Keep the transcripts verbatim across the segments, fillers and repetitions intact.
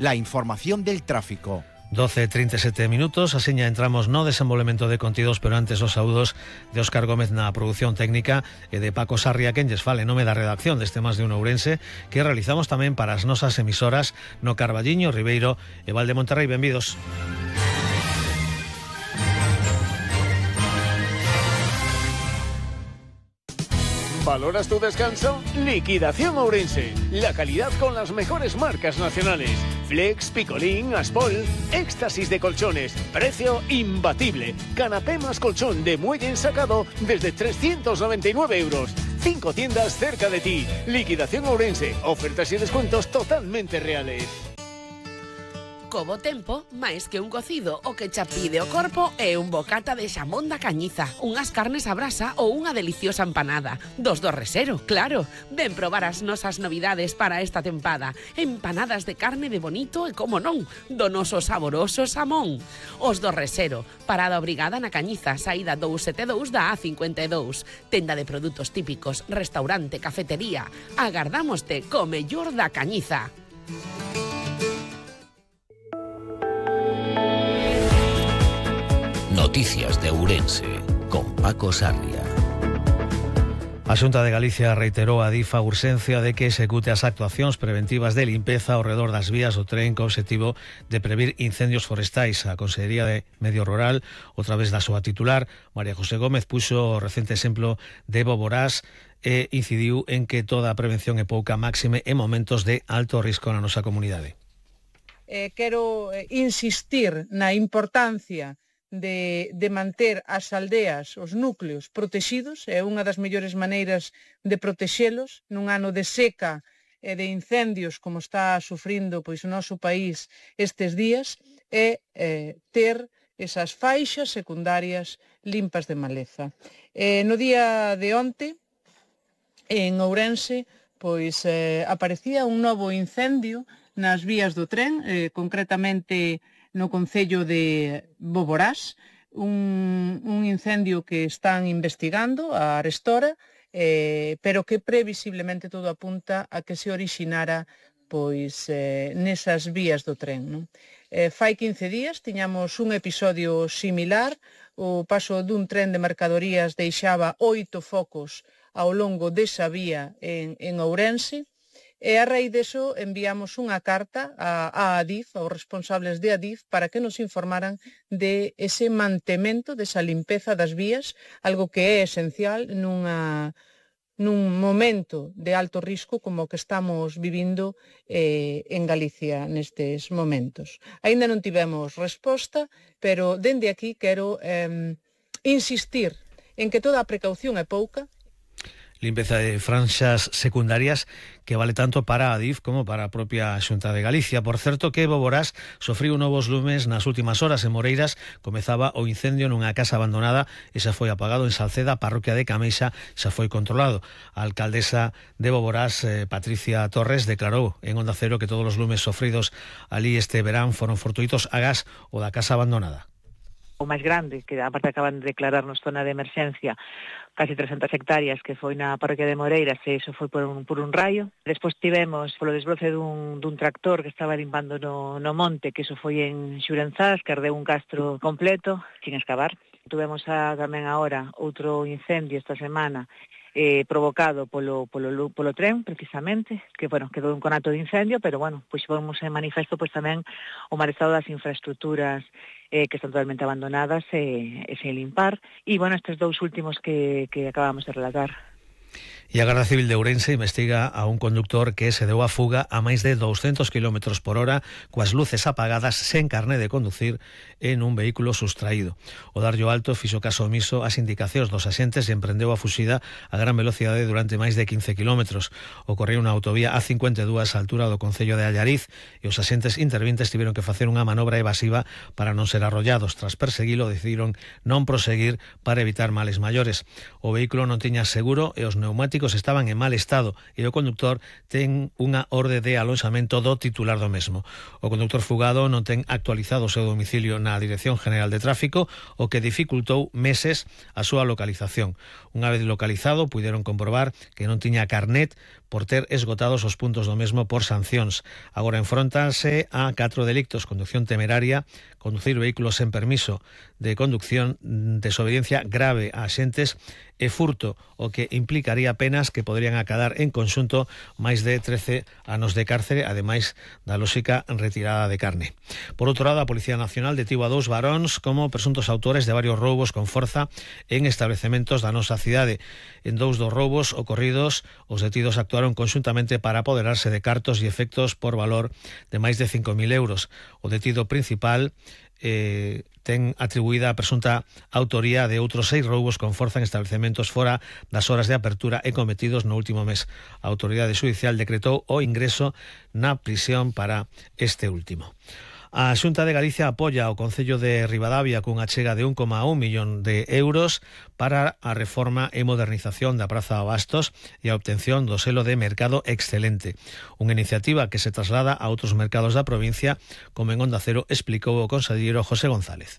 la información del tráfico. doce e trinta e sete minutos, asiña entramos no desenvolvemento de contidos, pero antes os saúdos de Óscar Gómez na produción técnica e de Paco Sarria, quen lles fale nome da redacción deste Más de un Ourense, que realizamos tamén para as nosas emisoras no Carballiño, Ribeiro e Val de Monterrey. Benvidos. ¿Valoras tu descanso? Liquidación Ourense. La calidad con las mejores marcas nacionales. Flex, Picolín, Aspol. Éxtasis de colchones. Precio imbatible. Canapé más colchón de muelle ensacado desde trescientos noventa y nueve euros. Cinco tiendas cerca de ti. Liquidación Ourense. Ofertas y descuentos totalmente reales. Co bo tempo, máis que un cocido, o que cha pide o corpo é un bocata de xamón da Cañiza, unhas carnes a brasa ou unha deliciosa empanada. Dos do Resero, claro. Ven probar as nosas novidades para esta tempada. Empanadas de carne de bonito e, como non, do noso saboroso xamón. Os do Resero, parada obrigada na Cañiza, saída dous sete dous da A cincuenta e dous. Tenda de produtos típicos, restaurante, cafetería. Agardámoste co mellor da Cañiza. Noticias de Ourense, con Paco Sarria. A Xunta de Galicia reiterou a DIF a urxencia de que execute as actuacións preventivas de limpeza ao redor das vías do tren co obxectivo de previr incendios forestais. A Consellería de Medio Rural, outra vez da súa titular, María José Gómez, puxo o recente exemplo de Boborás e incidiu en que toda a prevención é pouca, máxime en momentos de alto risco na nosa comunidade. Eh, quero insistir na importancia De, de manter as aldeas, os núcleos protexidos. É unha das mellores maneiras de protexelos nun ano de seca e de incendios como está sufrindo pois o noso país estes días, é eh, ter esas faixas secundarias limpas de maleza. Eh, no día de onte, en Ourense, pois eh, aparecía un novo incendio nas vías do tren, eh, concretamente no concello de Boborás, un, un incendio que están investigando a Arestora, eh, pero que previsiblemente todo apunta a que se orixinara pois eh, nesas vías do tren. Non? Eh, fai quince días tiñamos un episodio similar, o paso dun tren de mercadorías deixaba oito focos ao longo desa vía en, en Ourense. E a raíz deso enviamos unha carta a, a Adif, aos responsables de Adif, para que nos informaran de ese mantemento, desa limpeza das vías, algo que é esencial nunha, nun momento de alto risco como o que estamos vivindo eh, en Galicia nestes momentos. Aínda non tivemos resposta, pero dende aquí quero eh, insistir en que toda a precaución é pouca. Limpeza de franxas secundarias que vale tanto para a Adif como para a propia Xunta de Galicia. Por certo que Boborás sofriu novos lumes nas últimas horas. En Moreiras comezaba o incendio nunha casa abandonada e xa foi apagado. En Salceda, parroquia de Cameixa, xa foi controlado. A alcaldesa de Boborás, eh, Patricia Torres, declarou en Onda Cero que todos os lumes sofridos ali este verán foron fortuitos agás o da casa abandonada. O máis grande, que aparte acaban de declararnos zona de emerxencia, casi trescentas hectáreas, que foi na parroquia de Moreiras, e iso foi por un, por un raio. Despois tivemos polo desbroce dun, dun tractor que estaba limpando no, no monte, que iso foi en Xurenzás, que ardeu un castro completo, sin excavar. Tuvemos a, tamén agora outro incendio esta semana, eh, provocado polo, polo, polo tren, precisamente, que, bueno, quedou un conato de incendio, pero, bueno, pois vamos en manifesto pois tamén o mal estado das infraestructuras eh, que están totalmente abandonadas e, e sen limpar. E, bueno, estes dous últimos que, que acabamos de relatar. E a Garda Civil de Ourense investiga a un conductor que se deu a fuga a máis de douscentos kilómetros por hora coas luces apagadas, sen carné de conducir, en un vehículo sustraído. O darllo alto fixo caso omiso ás indicacións dos axentes e emprendeu a fuxida a gran velocidade durante máis de quince kilómetros. Ocorreu na autovía A cincuenta e dous á altura do concello de Allariz e os axentes intervintes tiveron que facer unha manobra evasiva para non ser arrollados. Tras perseguilo, decidiron non proseguir para evitar males maiores. O vehículo non tiña seguro e os neumáticos estaban en mal estado e o conductor ten unha orde de alonxamento do titular do mesmo. O conductor fugado non ten actualizado o seu domicilio na Dirección General de Tráfico, o que dificultou meses a súa localización. Unha vez localizado, puideron comprobar que non tiña carnet por ter esgotados os puntos do mesmo por sancións. Agora enfrontanse a catro delictos: conducción temeraria, conducir vehículos sen permiso de conducción, desobediencia grave a axentes e furto, o que implicaría penas que poderían acadar en conxunto máis de trece anos de cárcere, ademais da lóxica retirada de carne. Por outro lado, a Policía Nacional detivo a dous varóns como presuntos autores de varios roubos con forza en establecementos da nosa cidade. En dous dos roubos ocorridos, os detidos actuaron conxuntamente para apoderarse de cartos e efectos por valor de máis de cinco mil euros. O detido principal eh, ten atribuída a presunta autoría de outros seis roubos con forza en establecementos fora das horas de apertura e cometidos no último mes. A autoridade xudicial decretou o ingreso na prisión para este último. A Xunta de Galicia apoia o Concello de Ribadavia cunha achega de un coma un millón de euros para a reforma e modernización da Praza Abastos e a obtención do selo de Mercado Excelente. Unha iniciativa que se traslada a outros mercados da provincia, como en Onda Cero explicou o conselleiro José González.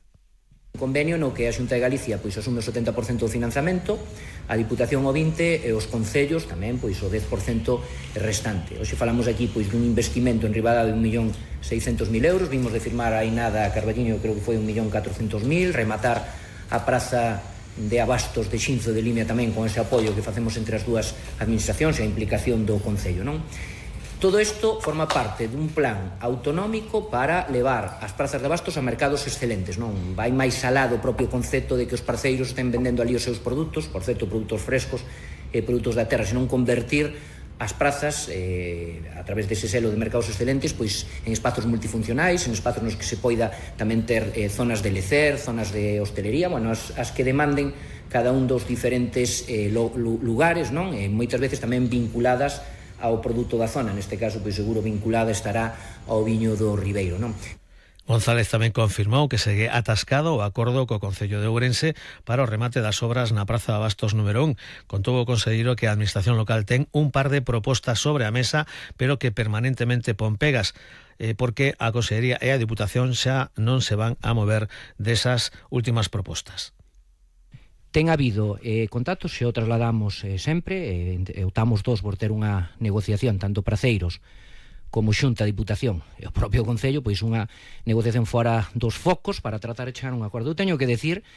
Un convenio no que a Xunta de Galicia pois asume o setenta por cento do financiamento, a Diputación o vinte por cento e os concellos tamén pois o dez por cento restante. Hoxe falamos aquí pois dun investimento en Ribadavia de un millón seiscentos mil euros, vimos de firmar aí nada a Carballiño, creo que foi un millón catrocentos mil, rematar a praza de Abastos de Xinzo de Limia tamén con ese apoio que facemos entre as dúas administracións e a implicación do concello, non? Todo isto forma parte dun plan autonómico para levar as prazas de Abastos a mercados excelentes, non? Vai máis alá do propio concepto de que os parceiros estén vendendo ali os seus produtos, por certo, produtos frescos e produtos da terra, senón convertir as prazas eh, a través dese selo de mercados excelentes pois en espazos multifuncionais, en espazos nos que se poida tamén ter eh, zonas de lecer, zonas de hostelería, bueno, as, as que demanden cada un dos diferentes eh, lo, lugares, non? E moitas veces tamén vinculadas ao produto da zona, neste caso pois seguro vinculada estará ao viño do Ribeiro, non? González tamén confirmou que segue atascado o acordo co Concello de Ourense para o remate das obras na Praza de Abastos número un. Contou o conselleiro que a administración local ten un par de propostas sobre a mesa, pero que permanentemente pon pegas, eh, porque a Consellería e a Diputación xa non se van a mover desas últimas propostas. Ten habido eh, contactos, se o trasladamos eh, sempre, eh, optamos dos por ter unha negociación, tanto praceiros como Xunta, Diputación e o propio Concello, pois unha negociación fora dos focos para tratar de chegar a un acordo. Eu teño que decir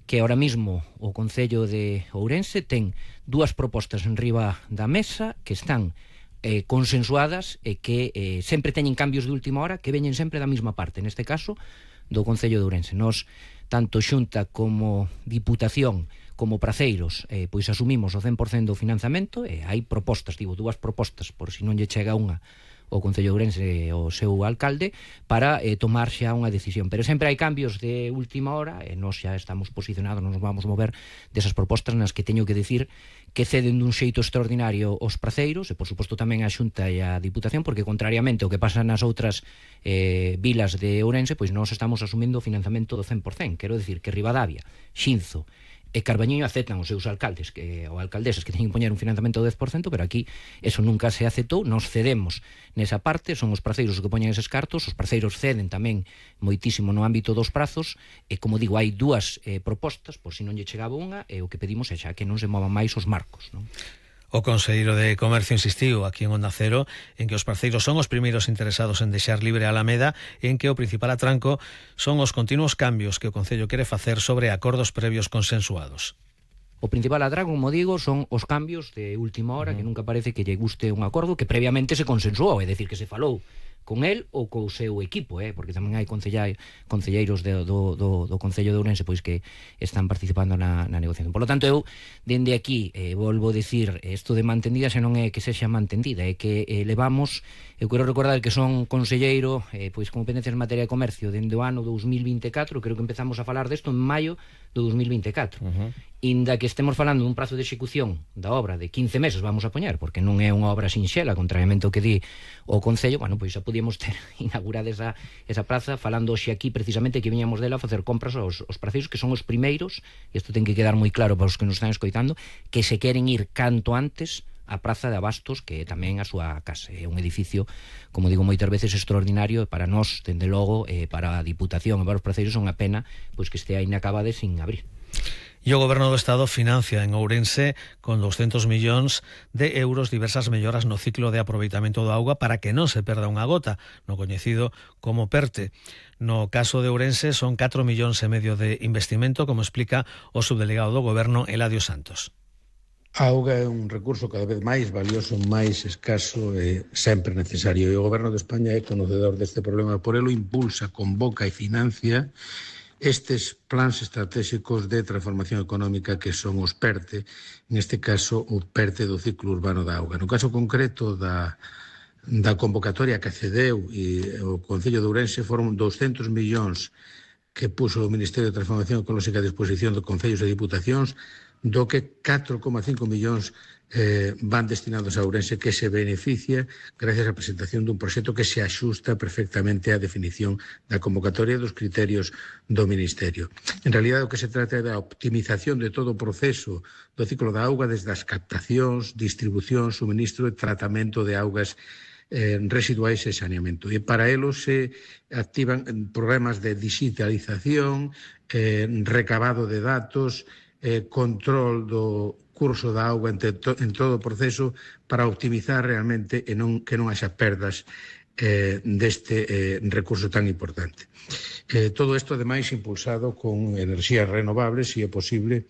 que ahora mismo o Concello de Ourense ten dúas propostas en riba da mesa que están eh, consensuadas e que eh, sempre teñen cambios de última hora que veñen sempre da mesma parte, neste caso do Concello de Ourense. Nos tanto Xunta como Diputación como praceiros, eh, pois asumimos o cen por cento do financiamento e hai propostas, digo, dúas propostas, por si non lle chega unha o Concello de Ourense e o seu alcalde, para eh, tomar xa unha decisión. Pero sempre hai cambios de última hora e nós xa estamos posicionados, non nos vamos mover desas propostas nas que teño que decir que ceden dun xeito extraordinario os praceiros e, por suposto, tamén a Xunta e a Diputación, porque, contrariamente ao que pasa nas outras eh, vilas de Ourense, pois nós estamos asumindo o financiamento do cen por cento. Quero decir que Ribadavia, Xinzo e Carballiño aceptan os seus alcaldes que, ou alcaldesas que teñen que poñer un financiamento do dez por cento, pero aquí eso nunca se aceptou, nos cedemos nesa parte, son os praceiros os que poñen eses cartos, os praceiros ceden tamén moitísimo no ámbito dos prazos, e como digo, hai dúas eh, propostas, por si non lle chegaba unha, e o que pedimos é xa que non se movan máis os marcos, non? O conselleiro de Comercio insistiu aquí en Onda Cero en que os parceiros son os primeiros interesados en deixar libre a Alameda e en que o principal atranco son os continuos cambios que o Concello quere facer sobre acordos previos consensuados. O principal atranco, como digo, son os cambios de última hora, uh-huh. que nunca parece que lle guste un acordo que previamente se consensuou, é dicir, que se falou con el ou co seu equipo, eh? Porque tamén hai concelleiros do, do, do, do Concello de Ourense pois que están participando na, na negociación. Por lo tanto, eu, dende aquí, eh, volvo a decir, isto de mantendida xa non é que sexa mantendida, é que eh, levamos, eu quero recordar que son conselleiro, eh, pois competencias en materia de comercio, dende o ano dous mil vinte e catro, creo que empezamos a falar desto en maio do dous mil vinte e catro. Uh-huh. Inda que estemos falando dun prazo de execución da obra de quince meses, vamos a poñer, porque non é unha obra sinxela, contrariamente ao que di o Concello, bueno, pois xa podíamos ter inaugurada esa, esa praza, falando hoxe aquí precisamente que viñamos dela a facer compras aos, aos praceiros, que son os primeiros, e isto ten que quedar moi claro para os que nos están escoitando, que se queren ir canto antes a Praza de Abastos, que tamén a súa casa. É un edificio, como digo moitas veces, extraordinario, e para nós, dende logo, eh, para a Diputación e para os praceiros, son a pena pois que este aí inacabade sin abrir. E o Goberno do Estado financia en Ourense con doscientos millóns de euros diversas melloras no ciclo de aproveitamento da auga para que non se perda unha gota, no coñecido como PERTE. No caso de Ourense son catro millóns e medio de investimento, como explica o subdelegado do Goberno, Eladio Santos. A auga é un recurso cada vez máis valioso, máis escaso e sempre necesario. E o Goberno de España é conocedor deste problema, por elo impulsa, convoca e financia estes plans estratégicos de transformación económica que son os PERTE, neste caso o PERTE do ciclo urbano da auga. No caso concreto da, da convocatoria que accedeu e o Concello de Ourense foron doscientos millóns que puso o Ministerio de Transformación Ecolóxica a disposición de concellos e diputacións, do que catro coma cinco millóns eh, van destinados a Ourense, que se beneficia gracias á presentación dun proxecto que se axusta perfectamente á definición da convocatoria dos criterios do Ministerio. En realidad, o que se trata é da optimización de todo o proceso do ciclo da auga, desde as captacións, distribución, suministro e tratamento de augas eh, residuais e saneamento. E para elo se activan programas de digitalización, eh, recabado de datos, eh, control do curso da auga en, to, en todo o proceso para optimizar realmente e non, que non haxa perdas eh, deste eh, recurso tan importante. Eh, todo isto, ademais, impulsado con enerxías renovables, se é posible,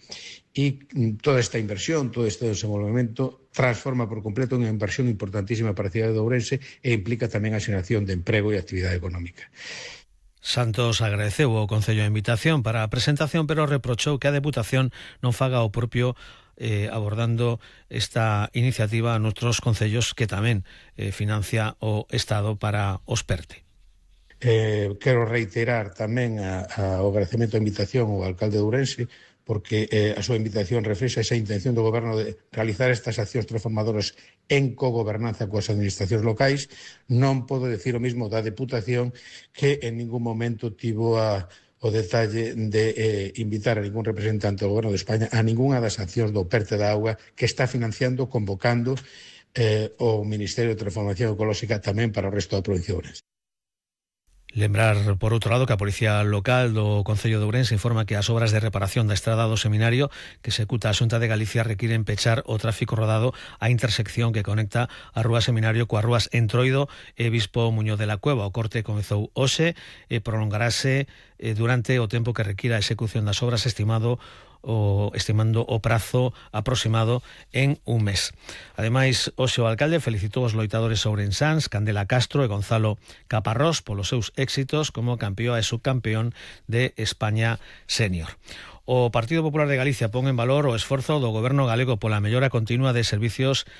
e toda esta inversión, todo este desenvolvemento transforma por completo unha inversión importantísima para a cidade de Ourense e implica tamén a xeración de emprego e actividade económica. Santos agradeceu ao Concello a invitación para a presentación, pero reprochou que a Deputación non faga o propio eh, abordando esta iniciativa a noutros concellos que tamén eh, financia o Estado para os PERTE. Eh, quero reiterar tamén a, a, o agradecemento a invitación ao alcalde de Ourense, porque eh, a súa invitación reflexa esa intención do Goberno de realizar estas accións transformadoras en cogobernanza coas administracións locais. Non podo decir o mismo da Deputación, que en ningún momento tivo a, o detalle de eh, invitar a ningún representante do Goberno de España a ningunha das accións do PERTE da auga que está financiando, convocando eh, o Ministerio de Transformación Ecolóxica tamén para o resto da provincia de Ourense. Lembrar, por outro lado, que a Policía Local do Concello de Ourense informa que as obras de reparación da estrada do Seminario que executa a Xunta de Galicia requiren pechar o tráfico rodado á intersección que conecta a Rúa Seminario coas rúas Entroido e Bispo Muñoz de la Cueva. O corte comezou hoxe e prolongarase durante o tempo que requira a execución das obras, estimado o estimando o prazo aproximado en un mes. Ademais, hoxe o alcalde felicitou os loitadores ourensáns Candela Castro e Gonzalo Caparrós polos seus éxitos como campeón e subcampeón de España Senior. O Partido Popular de Galicia pon en valor o esforzo do Goberno galego pola mellora continua de servicios,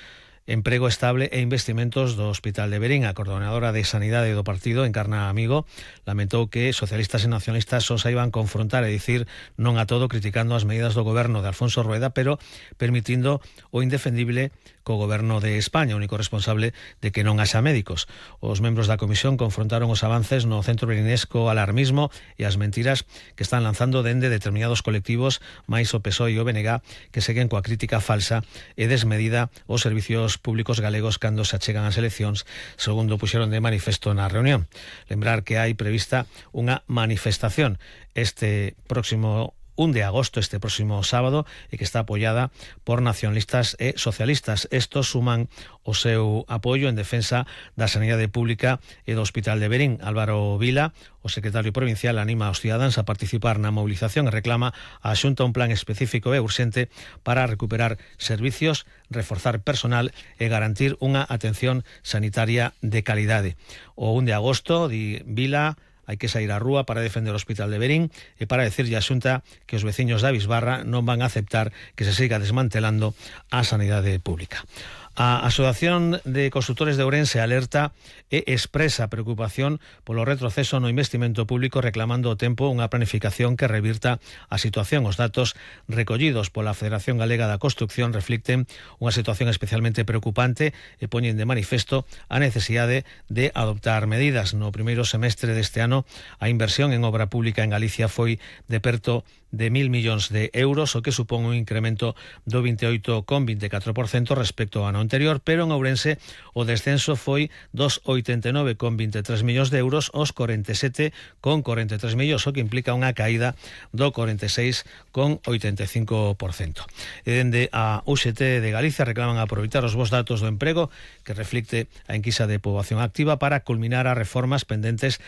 emprego estable e investimentos do Hospital de Verín. A coordinadora de Sanidade do partido, Encarna Amigo, lamentou que socialistas e nacionalistas só saiban confrontar e dicir non a todo, criticando as medidas do goberno de Alfonso Rueda, pero permitindo o indefendible co goberno de España, único responsable de que non haxa médicos. Os membros da comisión confrontaron os avances no centro verinesco alarmismo e as mentiras que están lanzando dende determinados colectivos, máis o P S O E e o B N G, que seguen coa crítica falsa e desmedida aos servicios públicos galegos cando se achegan as eleccións, segundo puxeron de manifesto na reunión. Lembrar que hai prevista unha manifestación este próximo un de agosto, este próximo sábado, e que está apoiada por nacionalistas e socialistas. Estos suman o seu apoio en defensa da sanidade pública e do Hospital de Verín. Álvaro Vila, o secretario provincial, anima aos cidadáns a participar na movilización e reclama a Xunta un plan específico e urxente para recuperar servicios, reforzar personal e garantir unha atención sanitaria de calidade. O un de agosto, di Vila, hai que sair á rúa para defender o Hospital de Verín e para decirlle á Xunta que os veciños da Bisbarra non van a aceptar que se siga desmantelando a sanidade pública. A Asociación de Constructores de Ourense alerta e expresa preocupación polo retroceso no investimento público, reclamando o tempo unha planificación que revirta a situación. Os datos recollidos pola Federación Galega da Construcción reflicten unha situación especialmente preocupante e poñen de manifesto a necesidade de adoptar medidas. No primeiro semestre deste ano, a inversión en obra pública en Galicia foi de perto de mil millóns de euros, o que supón un incremento do veintiocho coma veinticuatro por cento respecto ao ano anterior, pero en Ourense o descenso foi dos oitenta e nove coma veintitrés millóns de euros aos cuarenta e sete coma cuarenta e tres millóns, o que implica unha caída do cuarenta e seis coma oitenta e cinco por cento. E dende a U X T de Galicia reclaman aproveitar os bons datos do emprego que reflicte a enquisa de poboación activa para culminar as reformas pendentes